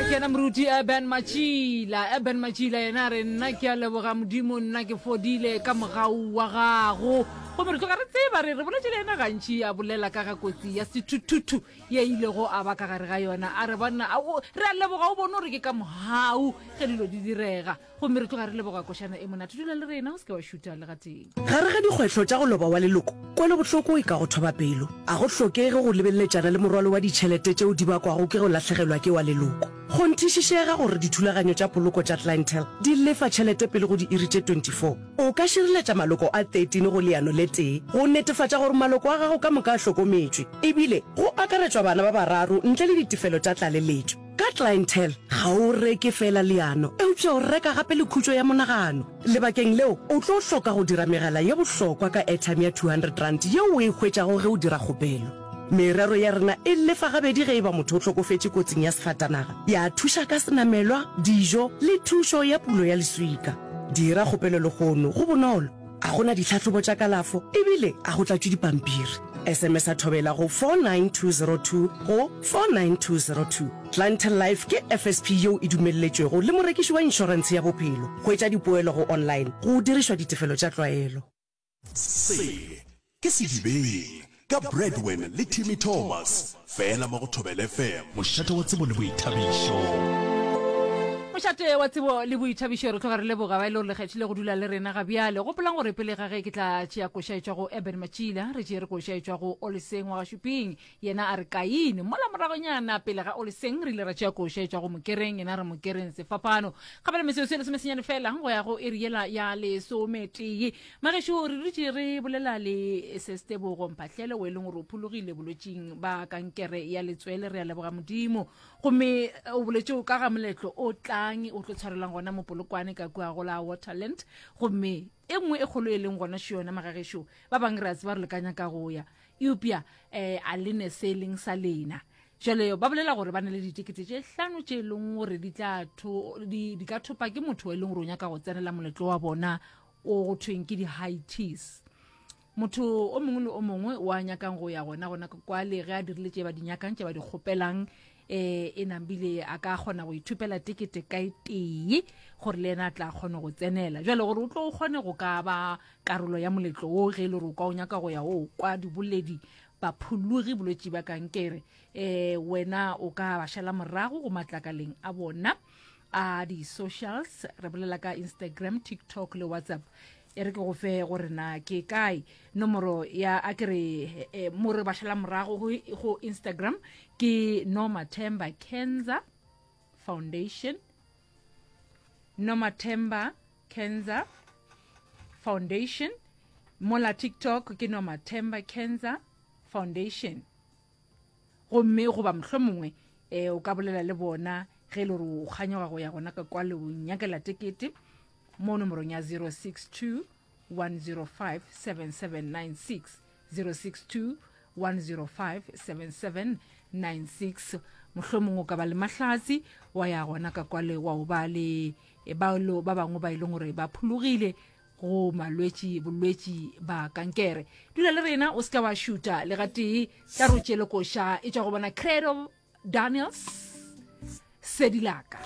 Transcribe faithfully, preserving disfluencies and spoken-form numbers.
Ke yena moruti Eben Matšila. Eben Matšila yena a re, Nna ke a leboga Modimo, nna ke fodile ka mogau wa gago. Gomme re tloga re tseba, re re boletše le yena gantši a bolela ka ga kotsi ya sethuthuthu ye a ilego a ba ka gare ga yona. A re, Banna, re a leboga o bone gore ke ka mogau ge dilo di direga. Gomme re tloga re leboga košana e monate. Dula le rena, o se ke wa šutha le gatee. Gare ga dikgwehlo tša go loba wa leloko, kwelobohloko e ka go thoba pelo. A go hlokege go lebeleletšana le morwalo wa ditšhelete tšeo di bakwago ke go lahlegelwa ke wa leloko. Kgonthišišega gore dithulaganyo tša poloko tša Clientele di lefa tšhelete pele go diiri tše twenty four. O ka šireletša maloko a thirteen go leano le tee go netefatša gore maloko a gago ka moka a hlokometšwe, ebile go akaretšwa bana ba bararo ntle le ditefelo tša tlaleletšo. Ka Clientele, ga o reke feela leano, eupša o reka gape le khutšo ya monagano. Lebakeng leo, o tlo hloka go dira megala ye bohlokwa ka airtime ya two hundred rand yeo o e hwetšago ge o dira kgopelo. Merero ya rena e lefa gabedi ge e ba motho o hlokofetše kotsing ya sefatanaga, ya thuša ka senamelwa, dijo le thušo ya pulo ya leswika. Dira kgopelo lehono, go bonolo, a go na ditlhahlobo tša kalafo ebile a go tlatšwe dipampiri. S M S a thobela go four nine two zero two go four nine two zero two. Clientele Life ke F S P yeo e dumelletšwego le morekiši wa inšorentshe ya bophelo. Hwetša dipoelo go online go dirišwa ditefelo tša tlwaelo. Se ke Sedibeng ka Bradwin le Timmy Thomas, fela mo go Thobela F M. Mošate wa tsebo le boithabišo. Mošate wa tsebo le boithabišo, re tloga re leboga ba e le gore le kgethile go dula le rena ga bjale. Gopolang gore pele ga ge ke tla tšea koša e tšwa go Eben Matšila, re tšere koša e tšwa go Oleseng wa ga Šuping, yena a re Kaine. Mola moragonyana pele ga Oleseng re ile ra tšea koša e tšwa go Mokereng, yena a re Mokereng Sefapano. Gabele metsotso e lesomesenyane fela go ya go iri yela ya lesometee. Magešo, re dutše re bolela le Sestebogo Mphahlele o e leng gore o phologile bolwetšing ba kankere ya letswele. Re a leboga Modimo. Gomme o boletše ka ga moletlo o tlang o tlo tshwarelwang gona mo Polokwane ka kua go la Waterland. Gomme e nngwe e kgolo e leng gona še yona magagešo, ba bangwe re a tseba re le ka nyaka go ya, eupša um a le ne se e leng sa lena. Jwale ba bolela gore ba na le ditekete tše hlano tše e leng gore di tla tho-, di, di ka thopa ke motho e leng gore o nyaka go tsenela moletlo wa bona o go thweng ke di-high teas. Motho o mongwe le o mongwe wa nyakang go ya gona gona kwale ge a dirile tše ba di nyakang, tše ba di kgopelang, eh, e nambile a ka kgona go ithupela tekete ka e tee gore le yena a tla kgone go tsenela. Jwale gore o tlo kgone go ka ba karolo ya moletlo wo ge e le gore o ka o nyaka go ya o kwa diboledi baphologi bolwetši ba kankere, eh, wena o ka ba šala morago go matlakaleng a bona a di-socials. Re bolela ka Instagram, TikTok le WhatsApp. E re ke go fe gore na ke kae nomoro ya a ke re, eh, mo re ba šala morago go, go Instagram ke Nomathemba Cancer Foundation, Nomathemba Cancer Foundation. Mola TikTok ke Nomathemba Cancer Foundation. Gomme goba mohlomongwe, eh, o ka bolela le bona ge e le gore o kganyoga go ya gona ka kwa le o nyakela tekete mo nomorong ya zero six two one zero five seven seven nine six, zero six two one zero five seven seven nine six. Mohlomongwe o ka ba le mahlatsi wa ya gona ka kwale wa o ba le, e, ba lo, ba bangwe ba e leng gore ba phologile go malwetši, bolwetši ba kankere. Dula le rena, o se ka wa šuta le gatee. Tla re o tšeele koša e tšwa go bona Credo Daniels, Sedilaka.